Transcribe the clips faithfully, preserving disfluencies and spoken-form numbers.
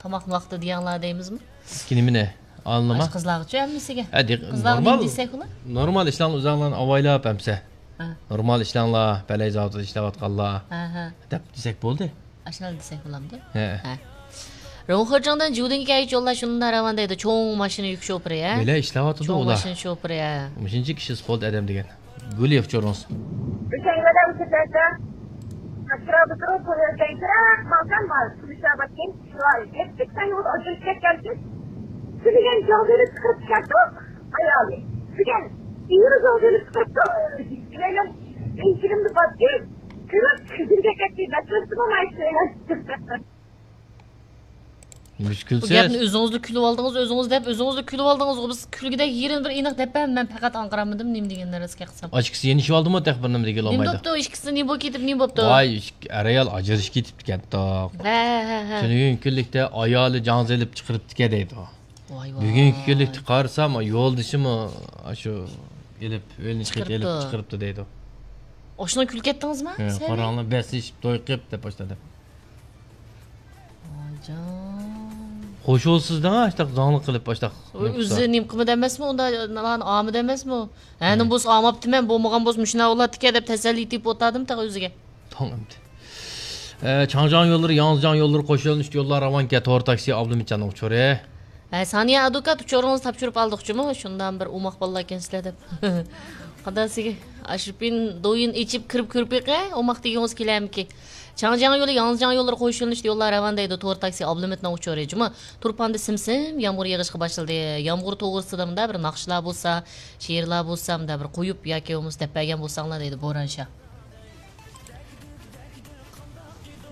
تاماقنى ۋاقتىدا يەڭلار دەيمىزمۇ؟ كېيىن نېمىنى؟ ئالنىما؟ ئاشۇ قىزلارغىچۇ ھەممىسىگە؟ ھە، دېق-، قىزلارغا نورمال، نېمە دېسەك ئۇلار؟ نورمال ئىشلارنى ئۆزۈڭلارنى ئاۋايلاپ ئەمسە. ھە. نورمال ئىشلەڭلار، پەلەي زاۋۇتىدا ئىشلەۋاتقانلار. ھە، ھە. دەپ دېسەك بولدى. ئاشۇنداق دېسەك بولامدۇ؟ ھە. ھە. روڭخېجېڭدىن جۇدىڭگە كەلگۈچە يوللار شۇنداق راۋان دەيدۇ، چوڭ ماشىنا يۈك شوپۇرى، ھە؟ بىلە ئىشلەۋاتىدۇ چوڭ ئۇلار. ماشىنا شوپۇرى، ھە. مۇشۇنچە كىشى سپورت ئادەم دېگەن. گۈل ياخشى ئورنىڭىز. بىزنىڭ ۋەتەن سىرتىدا ئەتراپىدا تۇرۇپ، بۇ يەردە يىراق ماكان بار. كۈمۈشئابادتىن شۇلار يەتتە سەكسەن يول ئاجرىتىپ كەتكەنسىز. سۈرگەن جاغدىرى چىقىرىپ كەتتۇق، ئايالى. سۈرگەن ئېرى جاغدىرى چىقىرىپتۇ. مېنىڭ ئىنچىكىمدە باتتى. كۈلۈپ سۈرگەن كەتتى. بەتلىسىمۇ مايسىلەر. مۈشكۈلسىز. بۇ گەپنى ئۆزىڭىزلا كۈلۈۋالدىڭىز، ئۆزىڭىز دەپ، ئۆزىڭىزلا كۈلۈۋالدىڭىزغۇ. بىز كۈلگۈدەك يېرىنى بىر ئېنىق دەپ بەرمەن، مەن پەقەت ئاڭقىرالمىدىم، نېمە دېگەننى رەسكە قىلسام. ئاشۇ ئىككىسى يېنىشىۋالدىمۇ تېخى بىر نېمە دېگىلى نېمە بولمايدۇ. بوپتۇ، ئىككىسى نېمە بولۇپ كېتىپ، نېمە بوپتۇ؟ ۋاي، ئىككى ئەر-ئايال ئاجرىشىپ كېتىپتىكەنتۇق. ھە، ھە، ھە. تۈنۈگۈن كۈنلۈكتە ئايالى جاڭزا ئېلىپ چىقىرىپتىكەن دەيدۇ. ۋاي، ۋاي. بۈگۈنكى كۈنلۈكتە قارىسام، يولدىشىمۇ ئاشۇ ئېلىپ، ئۆينى چىقىرىپتۇ. ئېلىپ چىقىرىپتۇ دەيدۇ. ئاشۇنى كۈلۈپ كەتتىڭىزمۇ؟ ھە، سەن؟ قاراڭلار، بەسلىشىپ، توي قىلىپ دەپ باشلىدى. ۋايجان. خوش بولسىز دەڭ، ئاشتاق زاڭلىق قىلىپ، ئاشتاق ئۆ-، نېمە قىلسا. ئۆزى نېمە قىلمىدى ئەمەسمۇ؟ ئۇندا نان ئامىدى ئەمەسمۇ؟ ھە، نېمە بولسا ئاماپتىمەن، بولمىغان بولسا مۇشۇنداق بولاتتىكەن دەپ تەسەللى تېپىپ ئولتۇردىم تېخى ئۆزىگە. توڭ ئەمدى. ئە، چاڭجياڭ يوللىرى، ياڭزىجياڭ يوللىرى قوشۇلۇنۇش يوللار راۋانكەن، تور تاكسى ئابلىمىتجاننىڭ ئۇچۇرى. ھە، سانىيە ئادۋوكات، ئۇچۇرىڭىزنى تاپشۇرۇپ ئالدۇقچۇمۇ؟ شۇنداق بىر ئوماق بالىلار ئىكەنسىلەر دەپ. قانداق سىزگە ئاشۇ پىن دويىن ئېچىپ كىرىپ كۆرۈپ بېقە، ئوماق دېگىڭىز كېلەرمىكىن؟ چاڭجياڭ يولى، ياڭزىجياڭ يوللىرى قوشۇلۇنۇشتا يوللار راۋان دەيدۇ، تور تاكسى ئابلىمىتنىڭ ئۇچۇرى. جۇمۇ، تۇرپاندا سىم-سىم يامغۇر يېغىشقا باشلىدى. يامغۇر توغرىسىدا مۇنداق بىر ناخشىلار بولسا، شېئىرلار بولسا، مۇنداق بىر قويۇپ ياكى بولمىسا دەپ بەرگەن بولساڭلار دەيدۇ، بوران شاھ.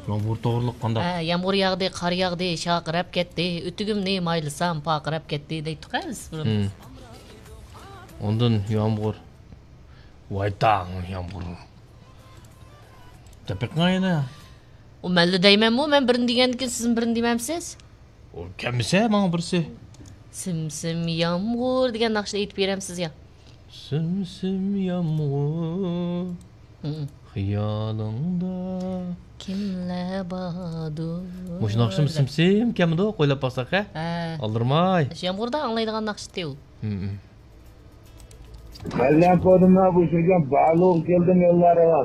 يامغۇر توغرىلىق قانداق؟ ھە، يامغۇر ياغدى، قار ياغدى، شارقىراپ كەتتى، ئۆتۈكۈمنى مايلىسام، پارقىراپ كەتتى دەيتتۇق ھە بىز بۇرۇن. ھىم. ئاندىن يامغۇر. ۋايتاڭ يامغۇر. دەپ بېقىڭ يەنە. ئۇ مەنلا دەيمەنمۇ، مەن بىرنى دېگەندىن كېيىن سىزمۇ بىرنى دېمەمسىز؟ ئۇ كەلمىسە ماڭا بىرسى. سىم سىم يامغۇر دېگەن ناخشىنى ئېيتىپ بېرەمسىز يا؟ سىم سىم يامغۇر، ھىم. خىيالىڭدا كىملەر باردۇر؟ مۇشۇ ناخشىمۇ سىم سىم كەلمىدۇ، قويلاپ باقساق ھە؟ ھە. ئالدىرىماي. شۇ يامغۇردا ئاڭلايدىغان ناخشىتى ئۇ. ھىم، ھىم. مەللەن قولۇمدا بوشىغان بالۇق كەلدىم يوللارغا.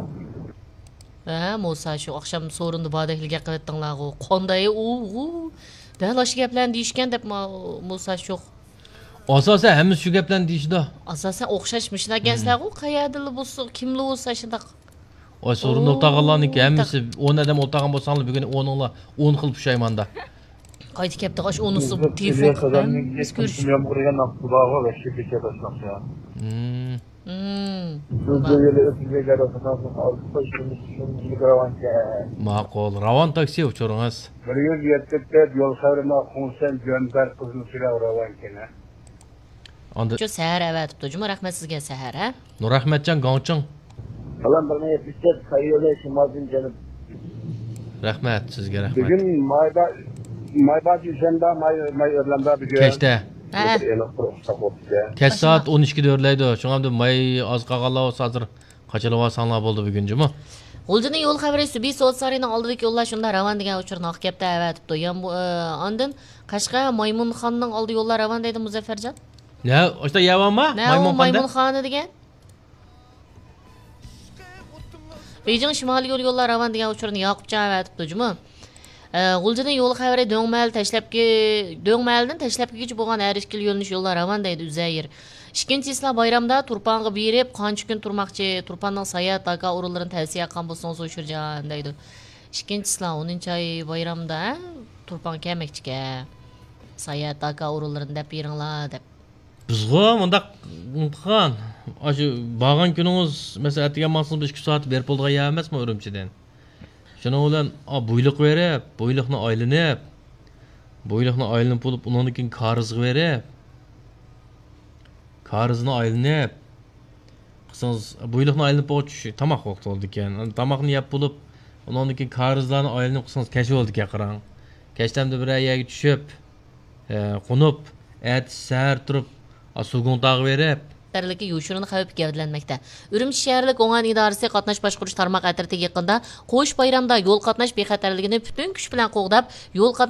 ھە، مۇسا شوخ ئاخشام سورۇندا باردەكلا گەپ قىلىۋەتتىڭلارغۇ. قانداي ئۇ، ئۇ. دەل ئاشۇ گەپلەرنى دېيىشكەن دەپ ما-، مۇسا شوخ. ئاساسەن ھەممىسى شۇ گەپلەرنى دېيىشىدۇ. ئاساسەن ئوخشاش مۇشۇنداق ئىكەنسىلەرغۇ، قەيەردىلا بولسا، كىملا بولسا شۇنداق. ۋاي، سورۇندا ئولتۇرغانلارنىڭكى ھەممىسى ئون ئادەم ئولتۇرغان بولساڭلار، بۈگۈن ئونۇڭلار ئون خىل پۇشايماندا. قايتا كەپتۇ، ئاشۇ ئونىسى تېلېفون قىلىپ، ھە؟ بىز كۆرۈش. يامغۇر يېغىن ناخشىسى بارغۇ، ۋەھشىي بېكەت ئاشۇ ناخشا. ھىم. ھىم. ماقۇل، راۋان تاكسى ئۇچۇرىڭىز. بىر يۈز يەتتە دەپ يول خەۋىرىنى خۇڭسەن جۆنبەر قىزنى سۈرەپ راۋانكەن ھە. ئاندىن شۇ سەھەر ئەۋەتىپتۇ جۇمۇ، رەھمەت سىزگە سەھەر ھە. نۇرئەخمەتجان گاڭچىڭ. سالام، بىر مىڭ يەتمىش تۆت ساييولى شىمالدىن جەنۇب. رەھمەت سىزگە، رەھمەت. بۈگۈن مايبا-، مايبا جۈشەندە، ماي، ماي ئۆرلەندە بۈگۈن. كەچتە. ھە. بىر ئېنىق قۇرۇق ئۇستاق بوپتۇ. كەچ سائەت ئون ئىككىدە ئۆرلەيدۇ. شۇڭا ئەمدى ماي ئاز قالغانلار بولسا ھازىر قاچىلىۋالساڭلار بولدى بۈگۈن جۇمۇ. غۇلجىنىڭ يول خەۋىرى سۈبھى سودا سارىيىنىڭ ئالدىدىكى يوللار شۇنداق راۋان دېگەن ئۇچۇرنى ئاق كەپتە ئەۋەتىپتۇ. يامغۇ-، ئە، ئاندىن قەشقەر مايمۇنخانىنىڭ ئالدى يوللار راۋان دەيدۇ مۇزەففەرجان. نە، ئاشتا يەۋەرما؟ نە، ئۇ مايمۇنخانىدا؟ مايمۇنخانا دېگەن. بېيجىڭ شىمالىي يول يوللار راۋان دېگەن ئۇچۇرنى ياقۇپجان ئەۋەتىپتۇ جۇمۇ. ئە، غۇلجىنىڭ يول خەۋىرى دۆڭمەھەل تەشلەپكى، دۆڭمەھەلدىن تەشلەپكىگىچە بولغان ھەر ئىككىلا يۆنىلىش يوللار راۋان دەيدۇ ئۈزەيىر. ئىككىنچى چىسلا بايرامدا تۇرپانغا بېرىپ، قانچە كۈن تۇرماقچى؟ تۇرپاننىڭ ساياھەت داكا ئورۇنلىرىنى تەۋسىيە قىلغان بولسىڭىز ئوشۇرجان دەيدۇ. ئىككىنچى چىسلا ئونىنچى ئاي بايرامدا، ھە؟ تۇرپانغا كەلمەكچىكەن. ساياھەت داكا ئورۇنلىرىنى دەپ بېرىڭلار دەپ. بىزغۇ مۇنداق قىلغان، ئاشۇ بارغان كۈنىڭىز، مەسىلەن، ئەتىگەن ماڭسىڭىز بىر ئىككى سائەت بېرىپ بولىدىغان يەر ئەمەسمۇ ئۈرۈمچىدىن. شۇنىڭ بىلەن، ئا، بويلۇق بېرىپ، بويلۇقنى ئايلىنىپ، بويلۇقنى ئايلىنىپ بولۇپ، ئۇنىڭدىن كېيىن كارىزغا بېرىپ، كارىزنى ئايلىنىپ، قىلسىڭىز، بويلۇقنى ئايلىنىپ بولغۇچە تاماق ۋاقتى بولىدىكەن. تاماقنى يەپ بولۇپ، ئۇنىڭدىن كېيىن كارىزلارنى ئايلىنىپ قىلسىڭىز كەچ بولىدىكەن، قاراڭ. كەچتە ئەمدى بىرەر يەرگە چۈشۈپ، ئە، قونۇپ، ئەتىسى سەھەر تۇرۇپ، ئا، سۇگۇڭتاغا بېرىپ. خەتەرلىكى يوشۇرۇن خەۋپ گەۋدىلەنمەكتە. ئۈرۈمچى شەھەرلىك ئوڭاينى ئىدارىسى قاتناش باشقۇرۇش تارماق ئەترىتى يېقىندا قوش بايرامدا يول قاتناش بىخەتەرلىكىنى پۈتۈن كۈچ بىلەن قوغداپ، يول قاتناش